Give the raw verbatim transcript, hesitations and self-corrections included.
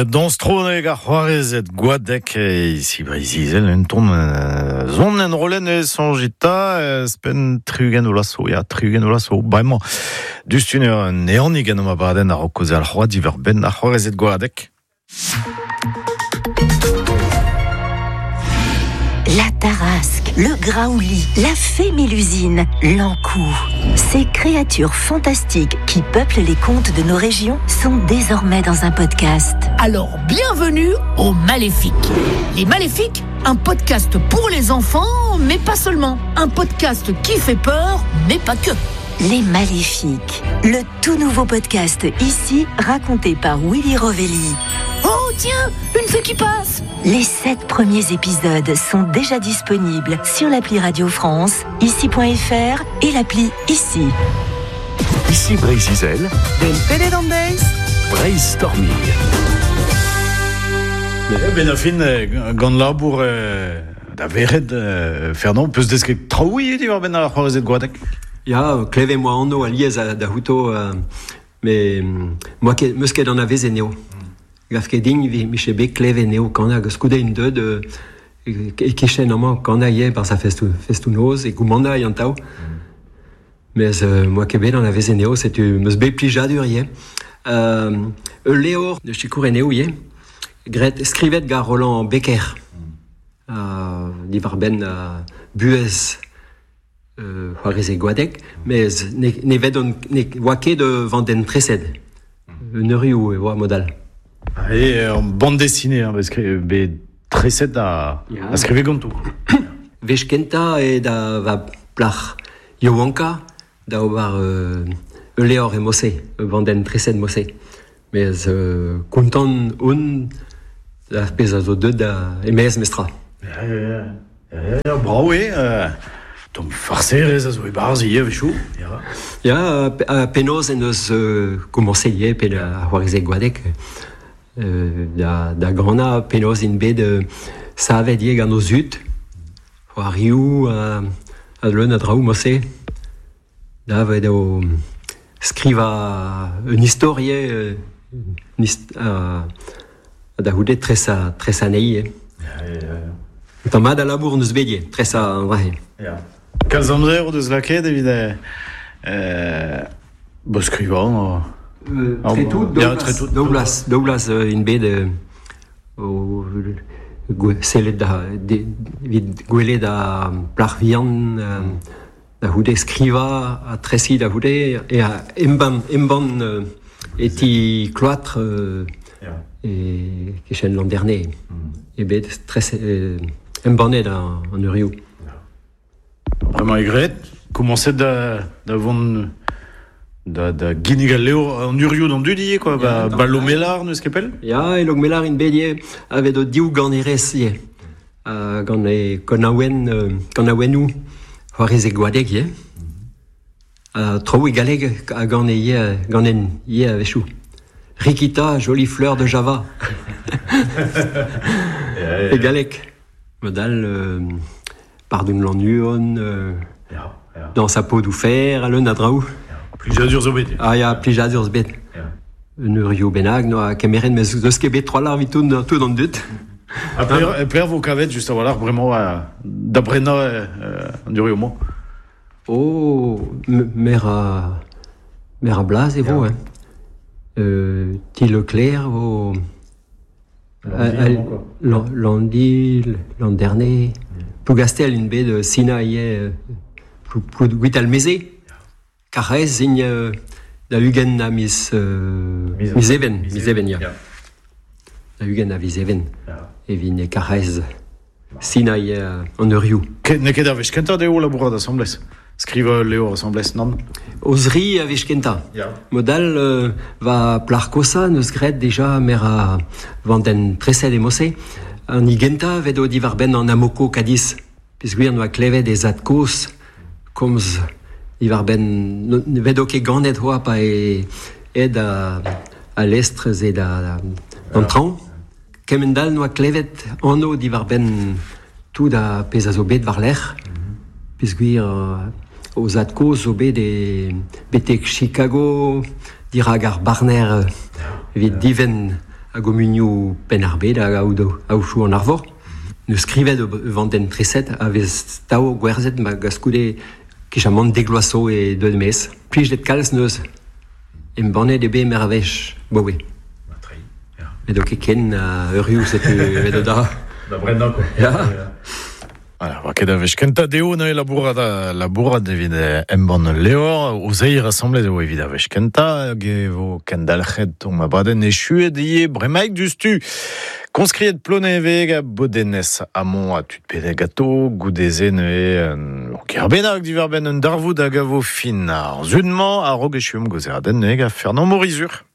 Dans tro ar c'hoarezed Gwadek ici Breizh-Izel un ton zon en rolen e sonjita spen triugent o laso ya triugent o laso bremañ dustun un eonig en ma baden ar rokoz al c'hoa diver ben ar c'hoarezed Gwadek. La Tarasque, le Graouli, la fée Mélusine, l'Ankou. Ces créatures fantastiques qui peuplent les contes de nos régions sont désormais dans un podcast. Alors bienvenue aux Maléfiques. Les Maléfiques, un podcast pour les enfants, mais pas seulement. Un podcast qui fait peur, mais pas que. Les Maléfiques, le tout nouveau podcast ici, raconté par Willy Rovelli. Oh tiens, une fée qui passe. Les sept premiers épisodes sont déjà disponibles sur l'appli Radio France, ici point F R et l'appli Ici. Ici Breizh-Izel, Breizh-Storming. Ben a fin, gant labour da veret, Fernand, peus deus ket traoù diwar ben ar c'hoarezed Gwadek. Ya, kleve moa anno a liez da houto, me moa ket, meus ket an aveze neo. Gaf ket din miche bet kleve neo kana hag skoude un deud e kichen amañ kana ye bar sa festou, festou noz e goumanda an tao. Mez moa ket bet an aveze neo, setu meus bet plijadur ye. Euh, Leor de chikour neo ye, gret skrivet gar Roland Becker. Uh, diwar ben uh, buez euh, c'hoareze Gwadek, mez ne, ne ved on, ne oa ket vanden tresed. Un eurioù e oa modal. Et en bande dessinée, hein, parce que be tresed a, yeah. a skrive ganto. Vech kenta e da va plach Yoanka da ober euh, leor e mose, vanden tresed mose. Mez euh, kontant on da pezh a zo deut da emez mestra. Ya, ya, ya, ya, bravo eo, euh, Tom farserez a zo e barz ivez chou. Ya, ya a penaos en eus euh, komañse ivez pe a c'hoareze Gwadek. Euh, da, da gana penaos in bet euh, savet ivez gant o zud. C'hoarioù a, a leun a draoù mose. Da vet o skriva un istorie euh, un hist, a, da houde tres a, tres a nei. Ya, ya, ya. Tamm mat a labour neus bet ivez, tres a an drahe. Ya. Kalz amzer o deus lakaet evit euh, bo skrivañ euh, tre tout, daou vloaz, daou vloaz in bet o sellet da evit gwelet da plac'h vihan da houde skrivañ a tresiñ da houde e a embann embann e ti kloatr e kichen l'an dernier e bet tres embannet an eurioù. Vraiment egret, komañset da, da vont da, da ginnig al leo an urioù d'an dud ivez, quoi, ba, ba Lomelar, neus ket pell? Ya, e Lomelar in bet ivez, avet o div ganerez ivez. Uh, gant e konaouen, euh, konaouennoù c'hoareze Gwadek ivez. Uh, traoù e galleg a gant e ivez, gant en ivez a-wechoù. Rikita, jolie fleur de Java. E galleg. Modal... Euh, Pardon l'an euh, ya, ya. Dans sa peau d'oufer, a leun a draoù. Plijadur zo bet. Ah ya, plijadur zo bet. Un eurioù bennak, noa kemeret, mez deus ket bet trois lar evit tout, tout an dud. A pler, pler vo kavet, just a-walc'h, bremañ, da brenañ euh, an eurioù mañ. Oh, mer a, mer a blaz e vo, hein. Euh, ti Leclerc vo... L'an l'an dernier. Plougastel in bet de Sina ivez gwit al meze. Karez in da ugent a miz miz even, miz even ya. Da ugent a miz even. Evit e Karez Sina ivez an eurioù. N'eo ket ar wech kentañ dezho labourat asambles. Skriva leo asambles nann. O zri a wech kentañ. Modal euh, va plac'h kosa neus graet deja mer a vanden tresed e mose. An igenta vet o diwar benn an amoko Cadiz. Peogwir noa klevet e zad kozh komz diwar benn vet o ket ganet hoa pa e ed a, a lestr ze da d'an traoñ. Kemend-all noa klevet anv diwar benn tout a pezh a zo bet war-lerc'h. Peogwir o zad kozh zo bet e betek Chicago dirag ar barner Evit diven a gomunioù Penn-ar-Bed hag aochou an arvor. Neus skrivet vanden treset a vez tao gwerzet ma gaskoude kichamant degloaso e deud mez. Plijet kalz neus embannet ebe mer a vech, bowe. Edo ket ken uh, eurioù setu edo da. Da brennañ quoi. Ya. Voilà, war ket a vech kenta deo neuze labourat labourat evit embann leor, o zeir assemblez eo evit a vech kenta, hag e vo kendalc'het ton ma baden echuet ie bremaik dustu. Konskriet ploneveg a bodenez amon a tud pede gato, goudeze neuze euh, kerbenag diverben un darvoud hag a vo fin ar zunmañ a rog echuom gozeraden neuze a Fernand Morizur.